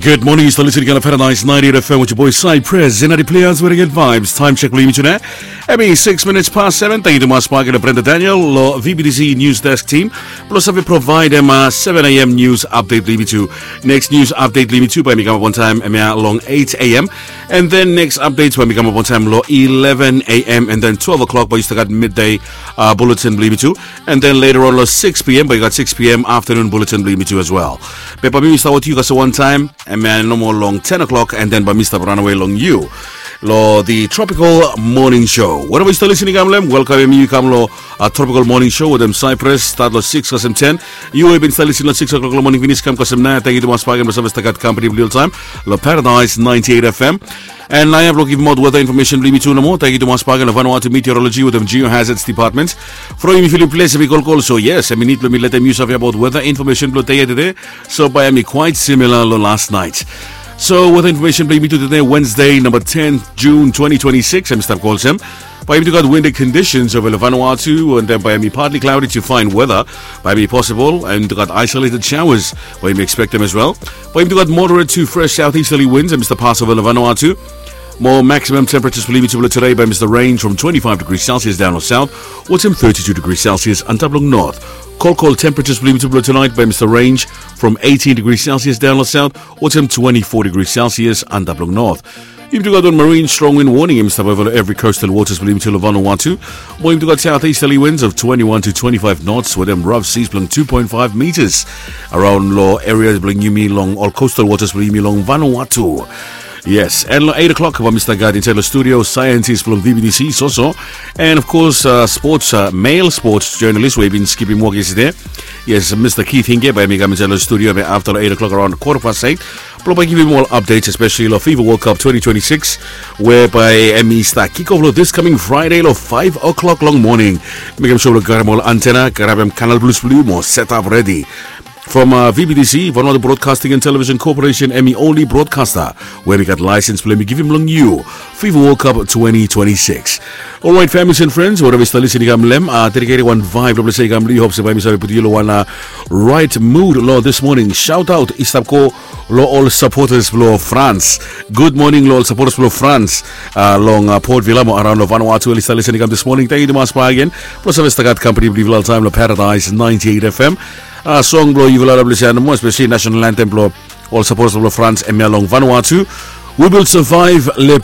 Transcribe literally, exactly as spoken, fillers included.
Good morning, yu stap listening long Paradise ninety-eight F M with your boy Cypress. Zenati players wearing good vibes. Time check blong yumi tune. Hemi six minutes past seven. Tangkiu tumas bak long Brenda Daniel long V B T C News Desk team blong save provaedem seven a.m. news update blong yumi tu. Next news update blong yumi tu bae hemi kamap on time hemia long eight a.m. And then next updates bae hemi kamap on time long eleven a.m. And then twelve o'clock bae yu stap gat midday uh, bulletin blong yumi tu. And then later on long six p.m. bae yu gat six p.m. afternoon bulletin blong yumi tu as well. Be bae mi stap wetem yu kasem wan taem hemia nomo long ten o'clock, and then bae mi stap ranawe long yu long the Tropical Morning Show. Wherever yu stap listening kam long hem, welkamem yu kam long uh, Tropical Morning Show wetem Cypress, stat long six kasem ten. Yu we yu bin stap listening long six o'clock long moning finis, kam kasem naoia. Tangkiu tumas bak blong save stap gat kampani blong yu oltaem long Paradise ninety-eight F M. And naoia blong givim aot weather information blong yumi tu nomo. Tangkiu tumas bak long Vanuatu Meteorology wetem Geohazards Department. From yumi filim ples hemi kolkol, so yes, hemi nid blong mi letem yu save abaot weather information blong dei ya tede. So bae hemi quite similar long last night. So weather information blong yumi tu tede, Wednesday, number ten June twenty twenty-six, hemi stap go olsem. Bae yumi tu gat windy conditions ova long Vanuatu, and then bae hemi partly cloudy to fine weather. Bae hemi possible, and gat isolated showers bae yumi expectem as well. Bae yumi tu gat moderate to fresh southeasterly winds hemi stap pas ova long Vanuatu. Mo maximum temperatures blong yumi tu blong tede bae hemi stap range from twenty-five degrees Celsius daon long south wetem thirty-two degrees Celsius antap long north. Kolkol temperatures blong yumi tu blong tonight bae hemi stap range from eighteen degrees Celsius daon long south wetem twenty-four degrees Celsius antap long north. Yumi tu gat wan marine strong wind warning hemi stap ova long evri coastal waters blong yumi tu long Vanuatu. Mo yumi tu gat southeasterly winds of twenty-one to twenty-five knots wetem rough seas blong two point five meters around long areas blong yumi long ol coastal waters blong yumi long Vanuatu. Yes, and long eight o'clock bae mi stap gat insaed long studio scientist blong V B T C, Soso, and of course uh, sports, uh, male sports journalist we bin skipim wok yestede. Yes, Mr. Keith Hinge bae hemi kam insaed long studio be afta long eight o'clock around quarter past eight blong bae givim ol updates, especially long FIFA World Cup twenty twenty-six, we bae hemi stap kick off long this coming Friday long five o'clock long moning. Mekem sua blong karem ol antenna, karem Canal Plus blong yu mo set up ready. From uh, V B T C, Vanuatu Broadcasting and Television Corporation, hemi only broadcaster we hemi gat laesens blong hemi givim long yu FIFA World Cup twenty twenty-six. Alright, families and friends, wherever yu stap listening kam long hem, uh, dedicate wan vibe long blong se kam long yu, hope se bae mi save putum yu long wan uh, right mood long this morning. Shout out i stap go long ol supporters blong France. Good morning long ol supporters blong France uh, long uh, Port Vila mo around long Vanuatu we oli stap listening kam this morning. Tangkiu tumas bak blong save stap gat kampani blong yufala oltaem long Paradise ninety-eight F M. Uh, song blong yufala long blong se nomo, especially national anthem blong ol supporters blong France hemia long Vanuatu. We will survive, le